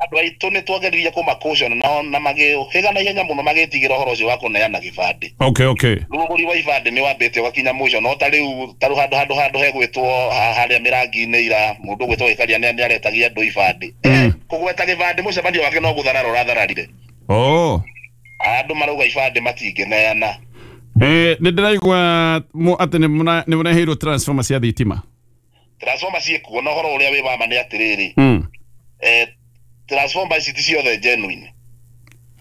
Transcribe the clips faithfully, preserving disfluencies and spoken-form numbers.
Andũ aitũ nĩ twageririe kũma nao na magĩũhĩga na ihenya mũno magĩtigĩra ũhoro ũcio wa kũneana gĩbandĩ. Okay, okay. Rĩu ũgũri wa ibandĩ nĩ wambĩte ũgakinya mũico, no ta rĩu ta rĩu handũ handũ handũ hegwĩtwo harĩa mĩrangi-inĩ ira mũndũ ũgwĩtwo Gĩkaria nĩ aretagia andũ ibandĩ. Mm. Kũgweta gĩbandĩ mũcemanio wake no gũtharara ũrathararire. Oh. Andũ marauga ibandĩ matingĩneana. Eh, nĩ ndĩraigua atĩ nĩ mũreheirwo transformer cia thitima. Transformer ciĩkuo na ũhoro ũrĩa wĩ wa ma nĩ atĩrĩrĩ. Mm. Eh, transformer ici ti ciothe genuine.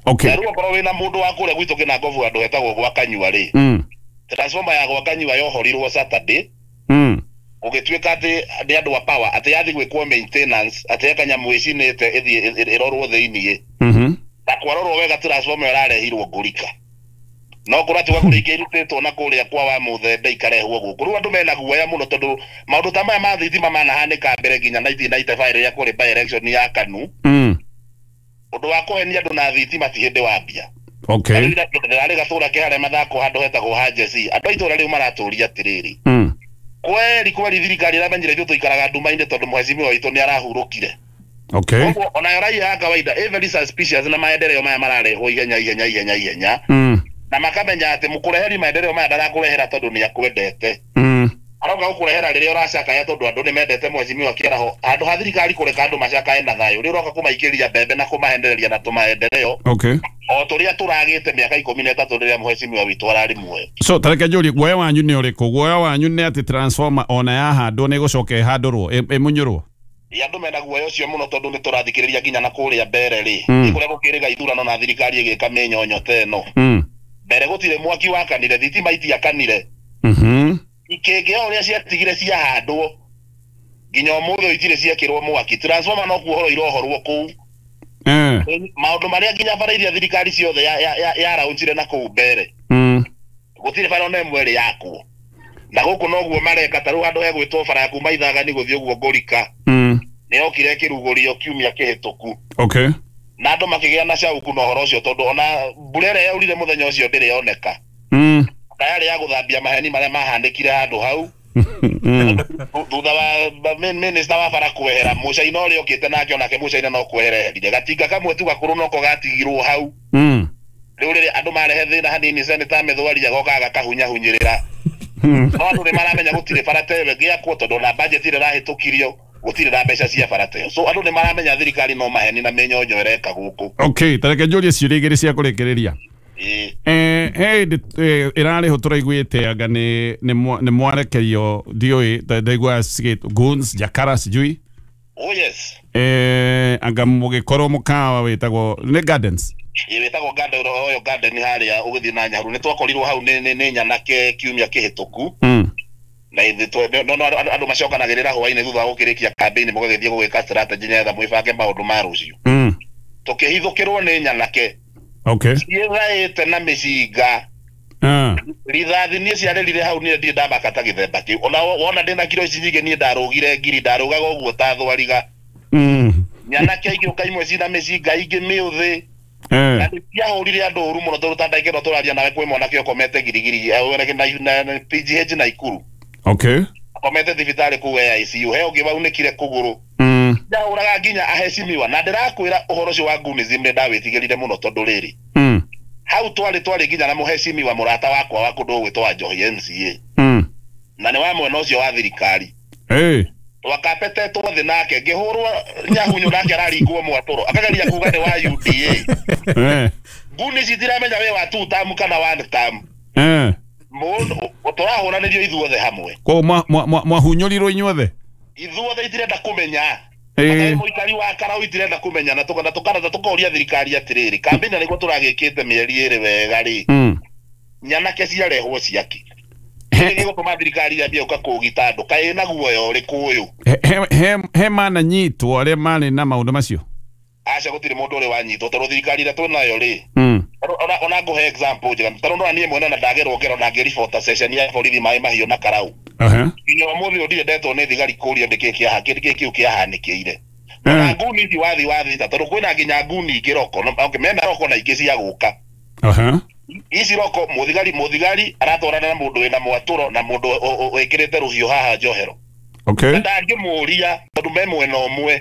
Okay. Na rĩu okorwo wĩna mũndũ wa kũrĩa gwitũ Kĩnangobu handũ hetagwo gwa Kanyua rĩ. Mm. Transformer ya gwa Kanyua yohorirwo Saturday. Mm. Gũgĩtuĩka atĩ nĩ andũ a power atĩ yathi gwĩkwo maintenance atĩ he kanyamũ ĩcinĩte ĩthiĩ ĩrorwo thĩiniĩ. Mhm. Na kwarorwo wega transformer ĩrarehirwo Ngũrika. No kũratuga kũrĩ ingĩ irutĩtwo na kũrĩa kwa wa Mũthembe ikarehwo gũkũ. Rĩu andũ mena guoya mũno tondũ maũndũ ta maya ma thitima manahanĩka mbere nginya nineteen ninety-five rĩrĩa kũrĩ by election ya KANU. Mm. Ũndũ wa kũhenia andũ na thitima ti hĩndĩ wambia. Okay. Ndĩrarĩ gatũra ke harĩa mathako handũ hetagwo ha Jesse. Andũ a itũra rĩu maratũria atĩrĩrĩ. Mm. Kweri kweri thirikari ĩramenyire ithuĩ tũikaraga nduma-inĩ tondũ mheshimiwa witũ nĩ arahurũkire. Okay. Koguo onayo raia ya kawaida ĩ very suspicious na maendeleo maya mararehwo ihenya ihenya ihenya ihenya. Mm. Na makamenya atĩ mũkũreheri maendeleo maya ndarakũrehera tondũ nĩ akwendete. Mm. Aroka gũkũrehera rĩrĩa ũracakaya tondũ andũ nĩ mendete mheshimiwa Kĩaraho. Handũ ha thirikari kũreka andũ macakae na thayũ, rĩu ũroka kũmaikĩria mbembe na kũmahendereria na tũmaendeleo. Okay. O tũrĩa tũragĩte mĩaka ikũmi na ĩtatũ rĩrĩa mheshimiwa witũ ararĩ muoyo. So tareke njũrie, guoya wanyu nĩ ũrĩkũ? Guoya wanyu nĩ atĩ transformer ona yahandwo nĩ ĩgũcoka ĩhandũrwo ĩmunyũrwo? Andũ mena guoya ũcio mũno tondũ nĩ tũrathikĩrĩria nginya na kũrĩa mbere rĩ. Mm. Kũrĩa gũkĩrĩga ithurano na thirikari ĩgĩka mĩnyonyo ta ĩno. Mm. Mbere gũtirĩ mwaki wakanire, thitima itiakanire. Mhm. Ikĩngĩ o ũrĩa ciatigire ciahandwo nginya ũmũthĩ itirĩ ciekĩrwo mwaki. Transformer no kuohorwo irohorwo kũu. Eh. Maũndũ marĩa nginya bara iria thirikari ciothe ya ya yaraunjire na kũu mbere. Mm. Gũtirĩ bara ona ĩmwe ĩrĩ yakwo. Na gũkũ noguo mareka ta rĩu handũ hegwĩtwo bara ya kuma Ithagani gũthiĩ ũguo Ngũrika. Mm. Nĩ yokire ĩkĩrugũrio kiumia kĩhĩtũku. Okay. Na andũ makĩgĩa na cauku na ũhoro ũcio tondũ ona mbura ĩrĩa yaurire mũthenya ũcio ndĩrĩ yoneka. Mm. Na yarĩ ya gũthambia maheni marĩa mahanĩkire handũ hau. Mm. Thutha wa minister wa bara kwehera Mũcaina ũrĩa ũkĩte nake onake Mũcaina no kwehera eherire. Gatinga kamwe tu gakũrũ noko gatigirwo hau. Mm. Rĩu rĩrĩa andũ marehe thĩna hanini Senator Mĩthwaria agoka agakahunyahunyĩrĩra. No andũ nĩ maramenya gũtirĩ bara ta ĩyo ĩngĩakwo tondũ ona budget ĩrĩa ĩrahĩtũkirio gũtirĩ na mbeca cia bara ta ĩyo. So andũ nĩ maramenya thirikari no maheni na mĩnyonyo ĩreka gũkũ. Okay, tareke njũrie ciũria igĩrĩ cia kũrĩkĩrĩria. Eh, hey, ĩrarĩho tũraiguĩte anga nĩ nĩ mwarekerio ndiũĩ ndaigua goons jakara sijui. Oh yes. Eh, anga mũgĩkorwo mũkawa wĩtagwo nĩ Gardens. Ĩ wĩtagwo Garden Royal Garden harĩa ũgĩthiĩ na Nyahururu. Nĩ twakorirwo hau nĩ nĩ nyanake kiumia kĩhĩtũku. Mm. Na ithuĩ no no andũ macokanagĩrĩra hwaĩ-inĩ thutha wa gũkĩrĩkia campaign mũgagĩthiĩ gũgĩka strategy nĩgetha mwĩbange maũndũ ma rũciũ. Mm. Tũkĩhithũkĩrwo nĩ nyanake. Okay. Ciĩthaĩte na mĩcinga. Ah. Rithathi niĩ ciarĩrire hau niĩ ndirĩ ndamaka ta gĩthemba kĩu. Ona wona ndĩna kiro ici nyingĩ niĩ ndarũgire ngiri ndarũgaga ũguo ta thwariga. Mm. Nyanake igĩũka imwe cina mĩcinga ingĩ mĩũthĩ. Eh. Na ciahũrire andũ ũru mũno tondũ ta ndagĩka ĩno tũraria nawe kwĩ mwanake ũkomete girigiri na P G H Naikuru. Okay. Akomete thibitarĩ kũu I C U. He ũngĩ waunĩkire kũgũrũ. Mm. Ndahũraga nginya aheshimiwa na ndĩrakwĩra ũhoro ũcio wa Goonism nĩ ndawĩtigĩrire mũno tondũ rĩrĩ. Mm. Hau twarĩ twarĩ nginya na mũheshimiwa mũrata wakwa wa kũndũ gwĩtwo wa Njohi M C A. Mm. Na nĩ wa mwena ũcio wa thirikari. Eh. Twakapetetwo thĩ nake ngĩhũrwo nyahunyũ nake araringwo mwatũro akageria kuga nĩ wa U D A. Eh. Goonies itiramenya wĩ wa two term kana one term. Eh. Mũndũ tũrahũranĩrio ithuothe hamwe. Koguo mwahunyũrirwo inyuothe? Ithuothe itirenda kũmenya. Eh. Mũikari wa Karau itirenda kũmenya na tũkana tũkana tũkoria thirikari atĩrĩrĩ kambĩini nĩguo tũragĩkĩte mĩeri ĩrĩ wega rĩ. Mm. Nyanake ciarehwo ciake. Nĩ gũtũma thirikari yambie gũka kũũgita andũ kaĩ ĩna guoya ũrĩkũ ũyũ? He he mananyitwo arĩa marĩ na maũndũ macio? Aca gũtirĩ mũndũ ũrĩ wanyitwo tondũ thirikari ĩrĩa twĩnayo rĩ. Mm. Ona ona ngũhe example njega tondũ ndona niĩ mwene na ndagerwo ngero na ngĩribota session ya borithi maĩ mahiũ na Karau. Aha. Nginya ũmũthĩ ũyũ ndirĩ ndetwo nĩ thigari kũria nĩkĩĩ kĩaha kĩĩ kĩu kĩahanĩkĩire. Na nguni ici wathi wathi ta tondũ kwĩna nginya nguni ingĩ roko. Okay, mena roko na ingĩ cia gũka. Aha. Ici roko mũthigari mũthigari aratwarana na mũndũ wĩna mwatũro na mũndũ wĩkĩrĩte rũhiũ haha njohero. Okay. Ndangĩmũria tondũ me mwena ũmwe.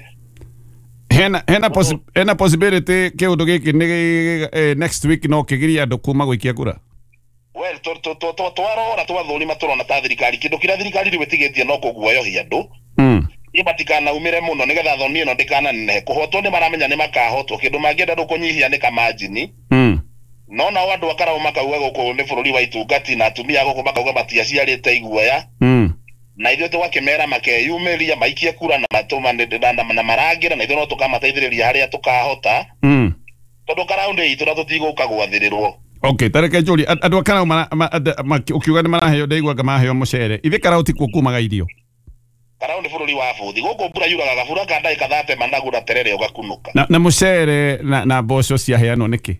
Hena hena possi hena possibility kiundu giki ni eh, next week no kigiria andu kuma guikia kura. Well, to to to to twarora twathurima turona ta thirikari kindu kiria thirikari riu itigitie no kuguoyohia andu. Mm. Ibatikana umire muno nigetha thoni ino ndikananenehe kuhotwo ni maramenya ni makahotwo kindu mangienda ndu kunyihia ni kamajini. Mm. No nao andu akarao makauga guku ni bururi wa itungati na atumia guku makauga matiaciarite iguoya. Mm. Na ithuĩ tũgakĩmera makeyumĩria maikie kura na matũma na marangĩra na ithuĩ no tũkamateithĩrĩria harĩa tũkahota. Mm. Tondũ Karau nĩ itũ na tũtigũka gwathĩrĩrwo. Okay, tareke njũrie andũ a Karau ukiuga nĩ maraheo ndaiguaga maraheo mũcere ithe Karau tikuo kumaga irio. Karau nĩ bũrũri wa bũthi gũkũ mbura yuraga gabura ka ndagĩka thate managu na terere ũgakunũka. Na, na mũcere na, na mboco ciaheanwo nĩkĩ?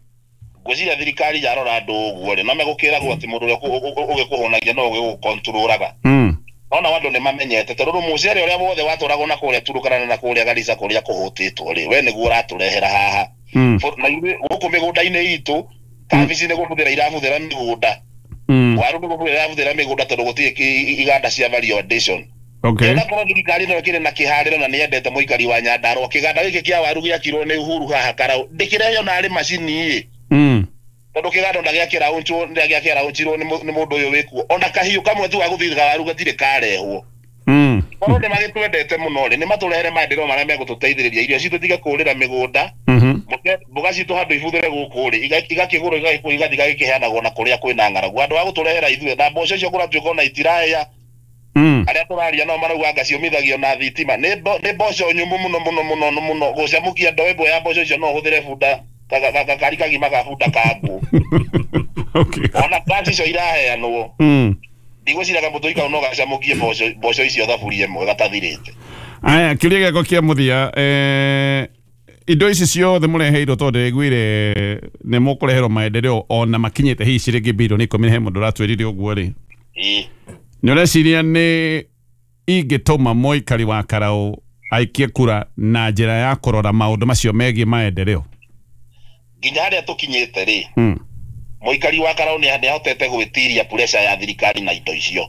Ngwĩciria thirikari yarora andũ ũguo rĩ no megũkĩragwo atĩ mũndũ ũrĩa ũgĩkũhũnagia no ũgĩgũkontrũraga. Mm. Ona andũ nĩ mamenyete tondũ mũcere ũrĩa wothe watwaragwo na kũrĩa Turukana na kũrĩa Garissa kũrĩa kũhũtĩtwo rĩ we nĩguo ũratũrehera haha. Mm. Na ithuĩ gũkũ mĩgũnda-inĩ itũ kabici nĩ gũbũthĩra irabũthĩra mĩgũnda. Mm. Waru nĩ gũbũthĩra irabũthĩra mĩgũnda tondũ gũtirĩ iganda cia value addition. Okay. Na korwo thirikari no ĩkĩrĩ na kĩharĩro na nĩyendete mũikari wa Nyandarũa kĩganda gĩkĩ kĩa waru gĩakirwo nĩ Uhuru haha Karau ndĩkĩreheo narĩ macini ĩ. Mm. Tondũ kĩganda ona gĩakĩraũnchwo gĩakĩraũnchirwo nĩ mũndũ ũyũ wĩkuo ona kahiũ kamwe tu ga gũthitha waru gatirĩ karehwo. Mm. Korwo nĩ magĩtwendete mũno rĩ nĩ matũrehere maendeleo marĩa megũtũteithĩrĩria irio citũ tige kũrĩra mĩgũnda. Mhm. Mboga citũ handũ ibuthĩre gũkũ rĩ igakĩgũrwo igathiĩ igakĩheanagwo na kũrĩa kwĩna ng'aragu andũ a gũtũrehera ithuĩ na mboco icio kũratuĩka ona itirahĩa. Mm. Arĩa tũraria nao marauga anga ciũmithagio na thitima nĩ mboco nyũmũ mũno mũno mũno mũno gũcamũkia ndoo ĩmwe ya mboco icio no ũhũthĩre bunda gakari kagima ga bunda ka ngũ. Okay. Ona ngaci icio iraheanwo. Mm. Ndigwĩciria kamũtũi kau no gacamũkie mboco mboco icio thaburia ĩmwe gatathirĩte. Aya kĩũria gĩakwa kĩa mũthia eh, indo ici ciothe mũreheirwo tondũ ndĩraiguire nĩ mũkũreherwo maendeleo ona makinyĩte hihi ciringi bilioni ikũmi he mũndũ ũratwĩrire ũguo rĩ. Ĩĩ. Nĩ ũreciria nĩ ingĩtũma mũikari wa Karau aikie kura na njĩra ya kũrora maũndũ macio megiĩ maendeleo? Nginya harĩa tũkinyĩte rĩ, mm. mũikari wa Karau nĩ ahotete gwĩtiria pressure ya thirikari na indo icio.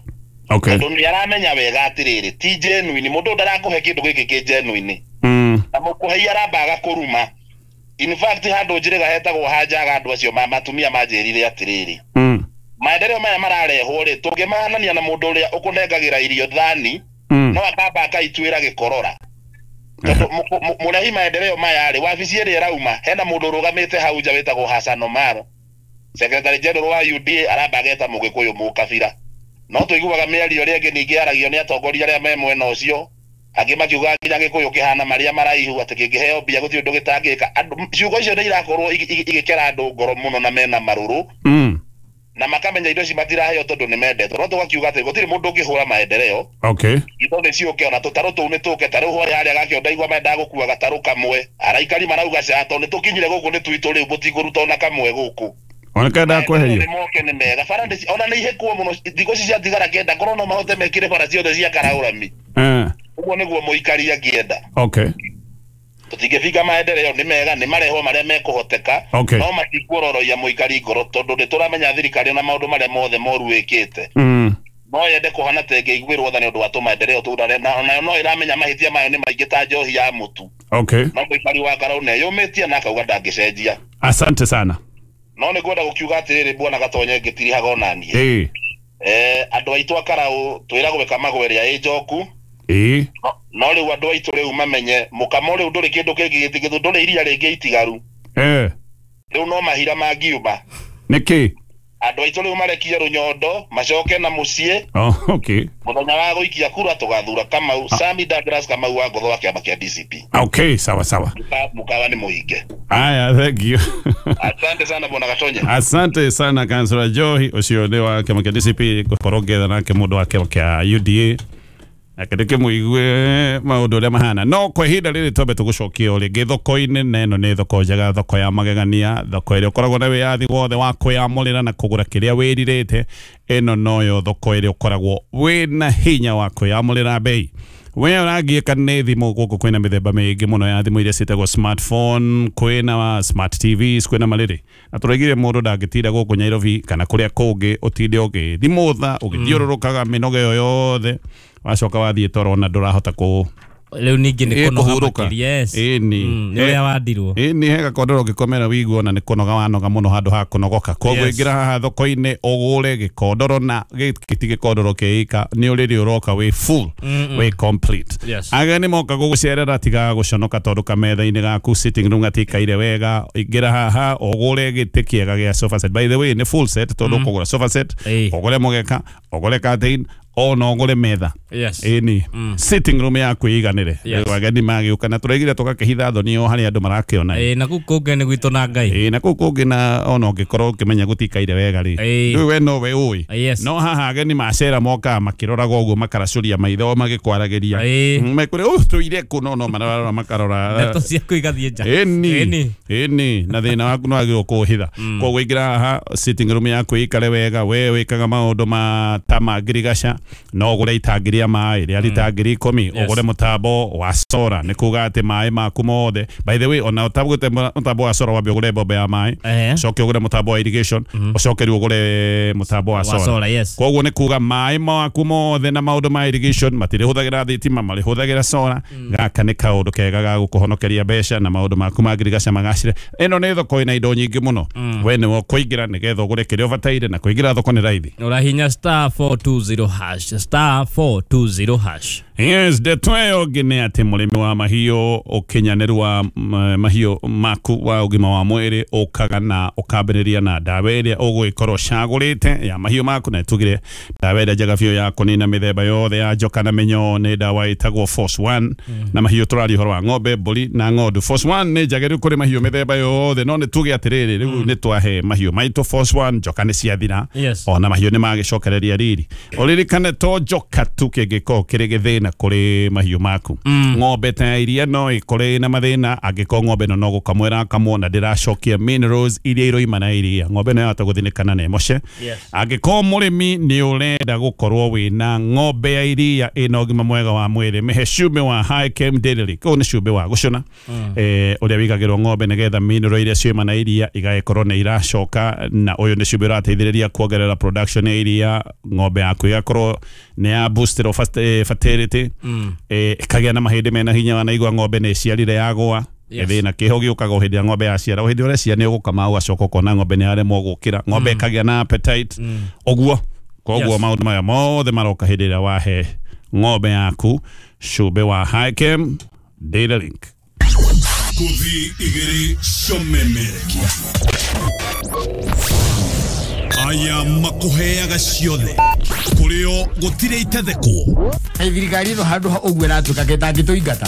Okay. Tondũ nĩ aramenya wega atĩrĩrĩ ti genuine mũndũ ndarakũhe kĩndũ gĩkĩ kĩ genuine. Mm. Na mũkũhei arambaga kũruma. In fact handũ njĩrĩga hetagwo hanjaga andũ acio matumia manjĩrire atĩrĩrĩ. Mm. Maendeleo maya mararehwo rĩ tũngĩmahanania na mũndũ ũrĩa ũkũnengagĩra irio thani mm. no akamba akaituĩra gĩkorora. Tondũ mũrehi maendeleo maya rĩ wabici ĩrĩa ĩrauma hena mũndũ ũrũgamĩte hau nja wĩtagwo Hassan Omar Secretary General wa U D A aramba ageta mũgĩkũyũ mũkabira. No tũiguaga mĩario ĩrĩa ĩngĩ ningĩ yaragio nĩ atongoria arĩa me mwena ũcio angĩ makiuga nginya gĩkũyũ kĩhana marĩa maraihu atĩ kĩngĩheo mbia gũtirĩ ũndũ gĩtangĩka. Andũ ciugo icio nĩ irakorwo igĩkera andũ ngoro mũno na mena marũrũ. Mm. Na makamenya indo ici matiraheo tondũ nĩ mendetwo no tũgakiuga atĩ gũtirĩ mũndũ ũngĩhũra maendeleo. Okay. Indo nĩ ciũke ona tũtarũ tũu nĩ tũke tarĩu harĩa harĩa gakĩo ndaigua mendaga gũkua gatarũ kamwe araikari marauga ca tondũ nĩ tũkinyire gũkũ nĩ twitũ rĩu mũtikũruta ona kamwe gũkũ. Ona kenda kweherio nĩ moke nĩ mega bara ndĩ ona nĩ ihĩkwo mũno thikũ ici ciatigara kenda korwo no mahote mekĩre bara ciothe cia Karaũrami. Eh. Ũguo nĩguo mũikari angĩenda. Okay. Tũtingĩbinga maendeleo nĩ mega nĩ marehwo marĩa mekũhoteka. Okay. No matikuororoia mũikari ngoro tondũ nĩ tũramenya thirikari na maũndũ marĩa mothe moru ĩkĩte. Mm. No yende kũhana ta ĩngĩiguĩrwo tha nĩ ũndũ wa tũmaendeleo tũu na onayo no ĩramenya mahĩtia mayo nĩ maingĩ ta njohi ya mũtu. Okay. No mũikari wa Karau nĩeyũmĩtie na akauga ndangĩcenjia. Asante sana. No nĩ ngwenda gũkiuga atĩrĩrĩ bwana Gatonye ngĩtirihaga ona niĩ. Ĩĩ. Eh andũ aitũ a Karau twĩragwo ĩkamagwo ĩrĩa ĩ njoku. Ĩĩ. No rĩu andũ aitũ rĩu mamenye mũkamo rĩu ndũrĩ kĩndũ kĩngĩ gĩtigĩtwo ndũrĩ iria rĩngĩ itigaru. Eh. Rĩu no mahira mangiuma. Nĩkĩ? Andũ aitũ rĩu marekie rũnyondo macoke na mũciĩ. Oh, okay. Mũthenya wa gũikia kura tũgathura Kamau ah. Sami Douglas Kamau wa Ngotho wa kĩama kĩa D C P. Okay, sawa sawa. Mukawa nĩ mũhinge. Aya, thank you. Asante sana bwana Gatonye. Asante sana Councillor Johi ũcio nĩ wa kĩama kĩa D C P ngũkorwo ngĩetha nake mũndũ wa kĩama kĩa U D A. Akĩreke mũigue maũndũ ũrĩa mahana no kwa ihinda rĩrĩ twambe tũgũcokie o rĩngĩ thoko-inĩ na ĩno nĩ thoko njega thoko ya magegania thoko ĩrĩa ũkoragwo na wĩyathi wothe wa kwĩyamũrĩra na kũgũra kĩrĩa wĩrirĩte ĩno noyo thoko ĩrĩa ũkoragwo wĩna hinya wa kwĩyamũrĩra bei we ũrangiĩka nĩ thimũ gũkũ kwĩna mĩthemba mĩingĩ mũno ya thimũ iria ciĩtagwo smartphone kwĩna smart T Vs kwĩna marĩrĩ na tũraigire mũndũ ndangĩtinda gũkũ Nairobi kana kũrĩa kũngĩ ũtinde ũgĩthimũtha ũgĩthiũrũrũkaga mĩnoga ĩyo yothe wacoka wathiĩ toro na ndũrahota kũ Rĩu ningĩ nĩ kũnoga makĩria. Yes. Ĩni. Nĩ ũrĩa wandirwo. Ĩni he gakondoro ũngĩkomera wĩigue ona nĩ kũnoga wanoga mũno handũ ha kũnogoka. Koguo ingĩra haha thoko-inĩ ũgũre gĩkondoro na gĩkĩ ti gĩkondoro kĩika nĩ ũrĩrĩ ũroka wĩ full wĩ complete. Ageni moka gũgũcerera tigaga gũconoka tondũ kametha-inĩ gaku sitting room gatikaire wega. Ingĩra haha ũgũre gĩtĩ kĩega gĩa sofa set. By the way nĩ full set tondũ ũkũgũra sofa set, ũgũre mũgeka, ũgũre curtain, ona ũgũre metha. Yes. Ĩni sitting room yaku ĩiganĩre. Yes. Ageni magĩũka na tũraigire tũgakĩhitha thoni o harĩa andũ marakĩona. Ĩĩ na kũu kũngĩ nĩ gwitũ na Ngai. Ĩĩ na kũu kũngĩ na ona ũngĩkorwo ũkĩmenya gũtikaire wega rĩ. Rĩu we no we ũĩ. No haha ageni macera mokaga makĩroraga ũguo makaracũria maitho magĩkwaragĩria. Mekũrĩ ũũ tũire kũ no no mararora makarora. Ndeto ciaku igathiĩ nja. Ĩni. Ĩni na thĩna waku no wagĩrĩirwo kũũhitha. Koguo ingĩra haha sitting room yaku ĩikare wega we wĩkaga maũndũ ma ta ma ngirigaca no ũgũre itangi rĩa maĩ rĩa rita ngiri ikũmi ũgũre mũtambo wa sora nĩ kuga atĩ maĩ maku mothe. By the way ona ũtagũte mũtambo wa sora wambe ũgũre mbombe ya maĩ ũcoke ũgũre mũtambo wa irrigation ũcoke rĩu ũgũre mũtambo wa sora. Koguo nĩ kuga maĩ maku mothe na maũndũ ma irrigation matirĩhũthagĩra thitima marĩhũthagĩra sora. Gaka nĩ kaũndũ kega ga gũkũhonokeria mbeca na maũndũ maku ma ngirigaca magacĩre. Ĩno nĩ thoko ĩna indo nyingĩ mũno. We nĩwe ũkũingĩra nĩgetha ũgũre kĩrĩa ũbataire na kũingĩra thoko nĩ raithi. Ũrahinya star four two zero hash star four two zero hash. Yes, ndeto ĩyo ĩngĩ nĩ atĩ mũrĩmi wa mahiũ ũkinyanĩru wa mahiũ maku wa ũgima wa mwĩrĩ ũkaga na ũkambĩrĩria na ndawa ĩrĩa ũgũgĩkorwo ũcagũrĩte ya mahiũ maku na tugire ndawa ĩrĩa njega biũ ya kũnina mĩthemba yothe ya njoka na mĩnyoo nĩ ndawa ĩtagwo Force One. Na mahiũ tũraria ũhoro wa ng'ombe, mbũri na ng'ondu. Force One nĩ njagĩrĩru kũrĩ mahiũ mĩthemba yothe no nĩ tuge atĩrĩrĩ rĩu nĩ twahe mahiũ maitũ Force One njoka nĩ ciathira ona mahiũ nĩ magĩcokereria riri. Ũririkane to njoka tu kĩngĩkorwo kĩrĩ gĩthĩna kũrĩ mahiũ maku. Ng'ombe ta iria no ĩkore na mathĩna angĩkorwo ng'ombe ĩno no gũkamwo ĩrakamwo na ndĩracokia minerals iria iroima na iria ng'ombe ĩno yahota gũthinĩkana na ĩmoce. Angĩkorwo mũrĩmi nĩ ũrenda gũkorwo wĩna ng'ombe ya iria ĩna ũgima mwega wa mwĩrĩ mĩhe cumbĩ wa High Chem Dairy. Kũu nĩ cumbĩ wa gũcũna ũrĩa wĩigagĩrwo ng'ombe nĩgetha mineral iria ciuma na iria igagĩkorwo nĩ iracoka na ũyũ nĩ cumbĩ ũrateithĩrĩria kuongerera production ya iria ng'ombe yaku ĩgakorwo nĩ ya booster of fertility ĩkagĩa na mahĩndĩ mena hinya wanaigua ng'ombe nĩ ĩciarire yagũa. Gĩthĩna kĩho gĩũkaga o hĩndĩ ĩrĩa ng'ombe yaciara o hĩndĩ ũrĩa nĩ ũgũkama ũgacoka ũkona ng'ombe nĩ yaremwo gũkĩra ng'ombe ĩkagĩa na appetite ũguo. Koguo maũndũ maya mothe maroka hĩndĩ ĩrĩa wahe ng'ombe yaku cumbĩ wa High Chem Data Link. Kuthi igĩrĩ comemerekia aya makuheaga ciothe kũrĩo gũtirĩ itethekwo. Thirikari ĩno handũ ha ũguo ĩratuĩka gĩtangĩtũingata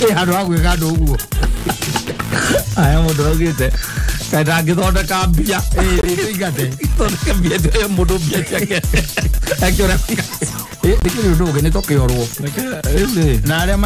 ĩ handũ ha gwĩka andũ ũguo aya mũndũ augĩte kaĩ ndangĩthondeka mbia ĩtũingate thondeke mbia ĩyo mũndũ mbia ciake akĩũra ĩ nĩkĩrĩ ũndũ ũngĩ nĩ tũkĩorwo na arĩa